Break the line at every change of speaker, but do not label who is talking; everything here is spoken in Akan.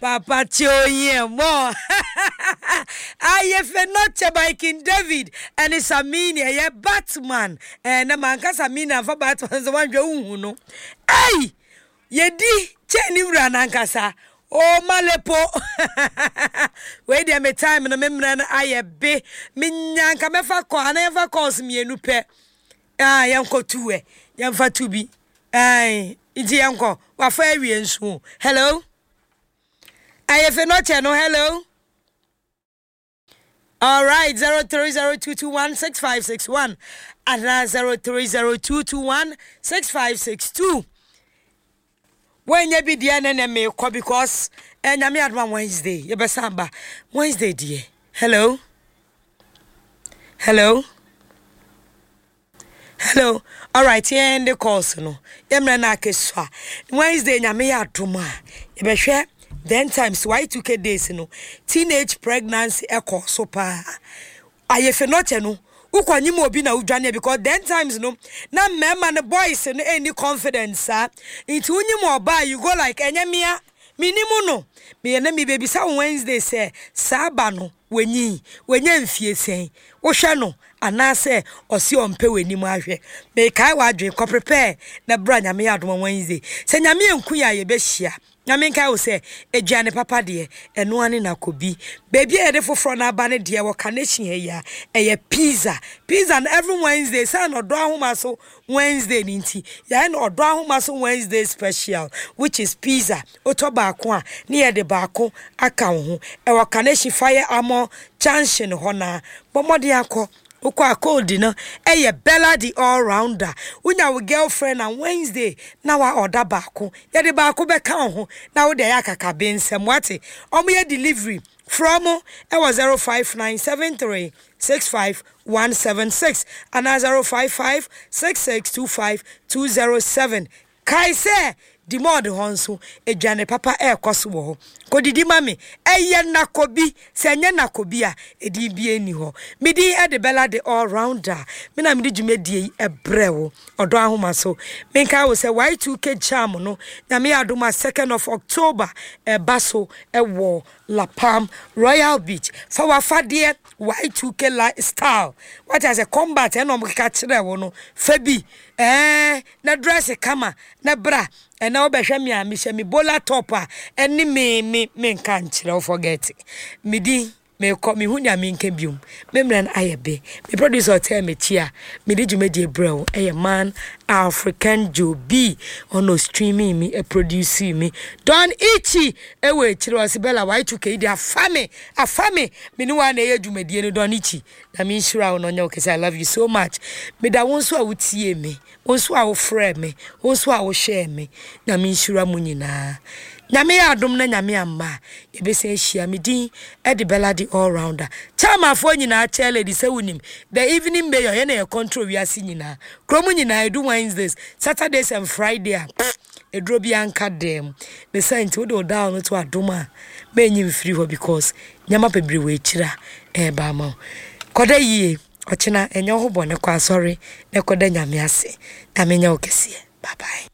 Papa Tio mo. Ayefe Noche by King David ɛne Samini ɛyɛ Batman. Ɛɛ na manka Samini amfa Batman sɛ wanhwɛ wohu no. Ei! Yɛdi kyɛn ne wura nankasa. Oh Malepo. Wei deɛ me time no me mmerɛ no ayɛ be. Menya nka mɛfa kɔ anaa yɛmfa calls mmienu pɛ. Ah yɛnkɔ tu ɛ. Yɛmfa tu bi. Ɛɛ nti yɛnkɔ. Wafa awie nso. Hello. Ayefe Noche no hello. All right, 0302216561 and 0302216562. When you be there, then me call because and I'm at one Wednesday. You better ba Wednesday, dear. Hello, hello, hello. All right, here in the calls no. Yemra na keswa. Wednesday nyame ya adom a. Yɛbɛhwɛ then times Y2K days no. Teenage pregnancy ɛkɔ so paa. Ayefe nɔkyɛ no wokɔ nyim obi na wodwane because then times no na mmarima no boys no ɛnni confidence saa nti wonyim ɔbaa you go like ɛnyɛ mea menim no meyɛ na mebɛbisa wo Wednesday sɛ saa ba no wanyin wanya mfie sɛn wohwɛ no anaasɛ ɔse ɔmpɛ w'anim ahwɛ mekae w'adwene kɔ prepare na bra Nyame yɛ adom Wednesday sɛ Nyame anku yɛ a yɛbɛhyia na menkae wo sɛ aduane papa deɛ ɛno ane na kɔbi baabi a yɛde foforɔ no aba no deɛ wɔ Carnation ha yi a ɛyɛ pizza pizza no every Wednesday sɛ na ɔdɔ ahoma so Wednesday no nti yɛayɛ no ɔdɔ ahoma so Wednesday special which is pizza wotɔ baako a ne yɛde baako aka wo ho ɛwɔ Carnation Fire Armor Junction hɔ na bɔ mmɔden akɔ wokɔ a code no ɛyɛ Bella the all rounder wonya wo girlfriend na Wednesday na wa ɔda baako yɛde baako bɛka wo ho na wode ayɛ akakabe nsɛm wate ɔmo yɛ delivery frɛ mo ɛwɔ 05973 65176 anaa 055 6625 207 kae sɛ dimɔd hɔ nso aduane papa ɛrekɔ so wɔ hɔ kɔdidi ma me ɛyɛ nakobi sɛ ɛnyɛ nakobi a ɛdin bi ani hɔ medin ɛde Bella the all rounder me na mede dwumadie yi ɛbrɛ wo ɔdɔ ahoma so menka wo sɛ Y2K jam no Nyame yɛ adom a 2nd of October ɛba so ɛwɔ La Palm Royal Beach fa wafadeɛ Y2K lifestyle wate asɛ combat ɛna ɔmo keka kyerɛ wo no fa bi ɛɛ na dress kama na bra ɛna wobɛhwɛ me a mehyɛ me bola top a ɛne me me me nka nkyerɛ wo forget me din mekɔ mehu nea menka biom me mmerɛ no ayɛ be me producer ɔtɛɛ m'akyi a mede dwumadie brɛ wo ɛyɛ man African Joe B ɔno streaming me produce me Don Ichi ɛwɔ akyire ɔse Bella Y2K yi de afa me afa me me ne wa na ɛyɛ dwumadie no Don Ichi na menhyira wo na ɔnyɛ wo kɛsɛ I love you so much meda wo nso a wotie me wo nso a wofrɛ me wo nso a wohwɛɛ me na menhyira mu nyinaa Nyame yɛ adom na Nyame amma a yɛbɛsan ahyia me din ɛde Bella the all rounder chairmanfoɔ nyinaa chair lady sɛ wonim the evening mayor yɛna yɛ control wiase nyinaa kurom nyinaa ɛdu Wednesdays Saturdays and Friday a ɛduro bi anka dɛm ne sɛ nti wode wo dial no to adom a mɛnyi mfiri hɔ because nneɛma bebree wɔ akyiri a ɛreba ama wo kɔda yie ɔkyena ɛnyɛ wo ho bɔne kɔ asɔre na kɔda Nyame ase Nyame nyɛ wo kɛseɛ bye bye.